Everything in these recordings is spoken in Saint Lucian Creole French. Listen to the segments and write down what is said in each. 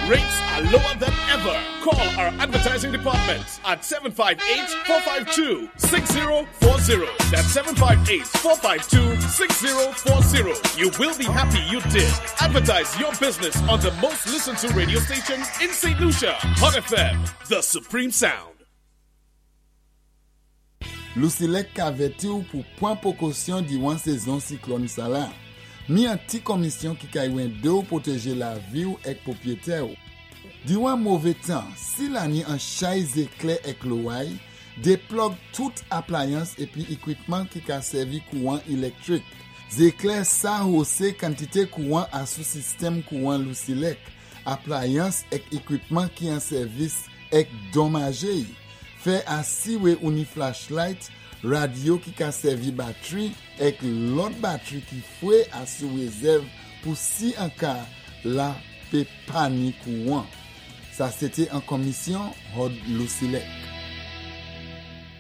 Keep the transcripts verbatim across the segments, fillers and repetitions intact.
Rates are lower than ever. Call our advertising department at seven five eight, four five two, six zero four zero. That's seven five eight, four five two, six zero four zero. You will be happy you did. Advertise your business on the most listened to radio station in Saint Lucia. Hot F M, the supreme sound. Lusilek ka avèti ou pou pwan pwékosyon diwan sézon siklòn sa la. Ni an ti komisyon ki ka édé ou pwotéjé lavi ou èk pwopwiyété ou. Diwan mové tan, si la ni an chay zéklè èk loway, déplòg tout aplayans épi ékwipman ki ka sèvi kouwan éléktwik. Zéklè sa hosé kantité kouwan asou sistèm kouwan Lusilek, aplayans èk ékwipman ki an sèvis èk donmajé. Fè asiwé ou ni flashlight, radyo ki ka sèvi batwi èk lòt batwi ki fwé asou rézèv pou si an ka la pé pa ni kouwan. Sa sété an komisyon Hod Lusilek.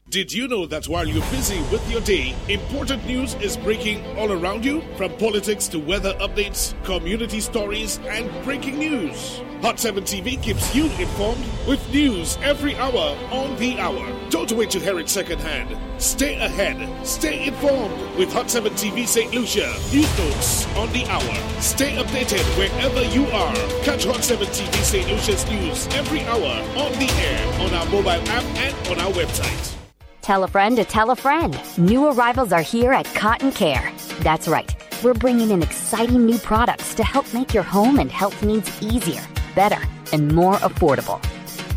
Did you know that while you're busy with your day, important news is breaking all around you? From politics to weather updates, community stories, and breaking news. Hot seven T V keeps you informed with news every hour on the hour. Don't wait to hear it secondhand. Stay ahead. Stay informed with Hot seven T V Saint Lucia. News notes on the hour. Stay updated wherever you are. Catch Hot seven T V Saint Lucia's news every hour on the air, on our mobile app, and on our website. Tell a friend to tell a friend. New arrivals are here at Cotton Care. That's right. We're bringing in exciting new products to help make your home and health needs easier, better, and more affordable.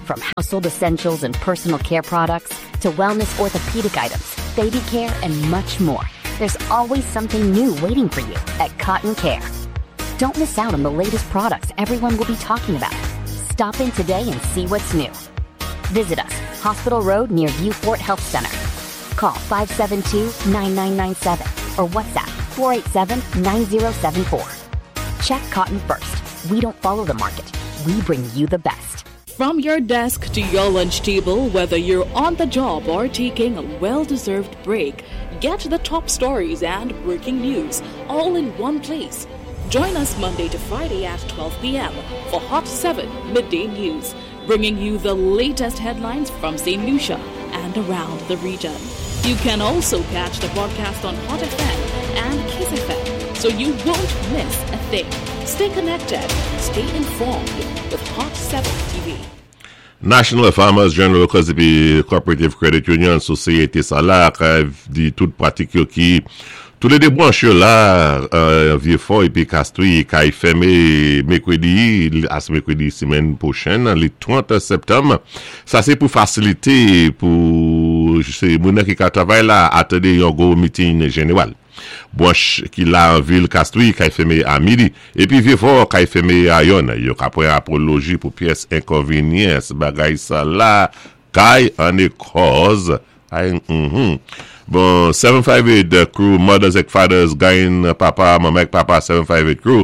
From household essentials and personal care products to wellness orthopedic items, baby care, and much more. There's always something new waiting for you at Cotton Care. Don't miss out on the latest products everyone will be talking about. Stop in today and see what's new. Visit us, Hospital Road near Vieux Fort Health Center. Call five seven two, nine nine nine seven or WhatsApp four eight seven, nine zero seven four. Check Cotton first. We don't follow the market. We bring you the best. From your desk to your lunch table, whether you're on the job or taking a well deserved break, get the top stories and breaking news all in one place. Join us Monday to Friday at twelve p m for Hot seven Midday News, bringing you the latest headlines from Saint Lucia and around the region. You can also catch the broadcast on Hot F M and Kiss F M, so you won't miss a thing. Stay connected, stay informed with Hot seven T V. National Farmers General Workers épi Cooperative Credit Union, sosyété sa la, di tout pratik yo ki tou lé dé branch yo la, euh, Vieux-Fort épi Castries, kay fèmé mèkwédi, as mèkwédi simenn pwochèn, lé trant septanm. Sa sé pou fasilité pou sé moun ki ka travay la atandé yon gwo meeting jénéwal. Branch ki la an vil Castries kay fèmé a midi épi Vieux-Fort kay fèmé a yonn. Yo ka pwan apoloji pou pyès enkonvényans bagay sa la kay an é kòz. Ay, mhm. Bon, seven five eight Crew, Mothers and Fathers, gain papa, manman, papa, seven five eight Crew.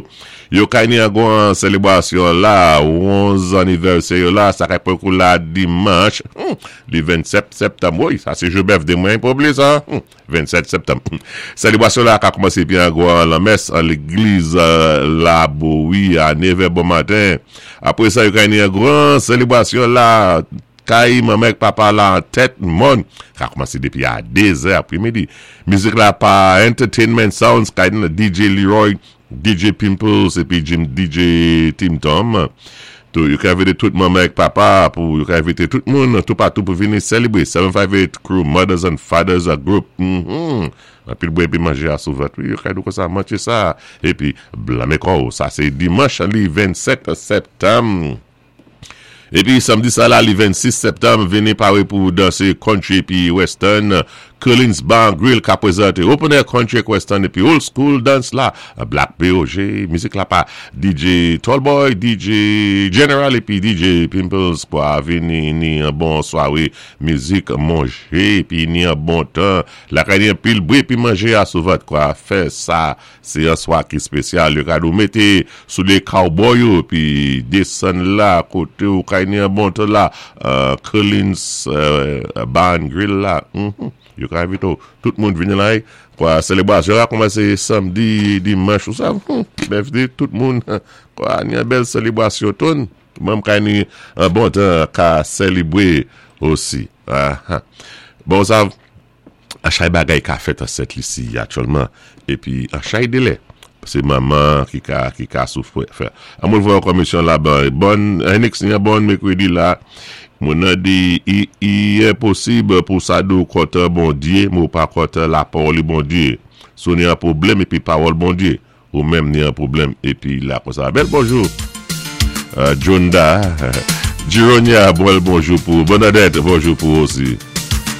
Yo kay ni an gwan selebrasyon la, onz anivèsè yo la, sa kay pran kou la dimanch, hmm, li vennsét septanm. Wi, sa sé jou birthday mwen, pa oubliyé sa. Hmm, vennsét septanm. Selebrasyon la ka koumansé byen gwan lanmès an légliz la Bowie a nevè bon maten. Apwé sa, yo kay ni an gwan selebrasyon la, kay manman èk papa la an tèt mòn. Ka koumansé dépi a dé zè apwémidi. Mizik la pa Entertainment Sounds, kay ni D J Leroy, D J Pimples épi Jim D J Tim Tom. Tou, yo ka envité tout manman èk papa pou yo ka envité tout moun tout patou pou vini sélébwé seven five eight Crew Mothers and Fathers Group. Mm -hmm. Anpil bwè épi manjé asou vant. Wi, yo ka di konsa mantché sa épi blanmé kò. Sa sé dimanch li vennsét septanm. Épi samdi sa la, li vennsis septanm, vini paré pou dansé country épi western. Collins Bar Grill ka pwézanté Open Air Country Western épi Old School Dance la. Black P O G, mizik la pa D J Tallboy, D J General épi D J Pimples kwa vini ni an bon swaré mizik, manjé épi ni an bon tan. La kay ni an pil bwé épi manjé asou vant kwa fè sa sé an swa ki spésyal. Yo ka nou mété sou lé cowboy yo épi désann la koté ou kay ni an bon tan la uh, Collins uh, Bar and Grill la. Mm -hmm. Yo ka envité tout moun vini la kwa selebrasyon a koumansé samdi, dimanch ou sa. Hmm, birthday tout moun kwa ni an bèl selebrasyon ton. Mwenm kay ni an bon tan ka sélébwé osi. Ah, bon, sa, an chay bagay ka fèt an Sent Lisi aktyèlman, épi an chay délé. Sé manman ki ka, ki ka soufwi. An mwen vwa komisyon la ban, bon, Henix ni an bon mèkwédi la, mwen nan di, i, i enposib pou sa di ou kontan Bondyé, mé ou pa kontan la pawòl Bondyé. Si ou ni an pwoblèm épi pawòl Bondyé, ou menm ni an pwoblèm épi la kon sa. Bèl bonjou. Uh, Jonda, Gironia, bon bonjou pou, Bernadette, bonjou pou osi.